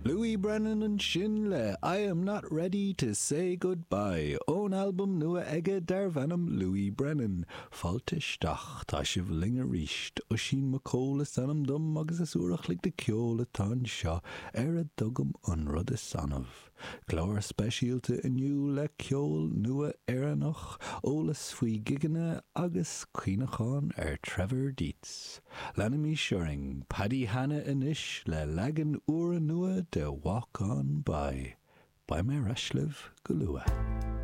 Louis Brennan ansin le I Am Not Ready To Say Goodbye ón albam nua aige darbh ainm Louis Brennan. Fáilte isteach, tá sibh linn arís. Oisín Mac Cóil is ainm dom agus is uair a chloig de ceol atá anseo ar a dtugaim an rud is annamh. Clár speisialta inniu le ceol nua Éireannach, eolas faoi ghigeanna agus cuimhneachán ar Trevor Dietz. Leanaimis orainn, Paddy Hanna anois le leagan úrnua de Walk On By. Beidh mé ar ais libh go luath.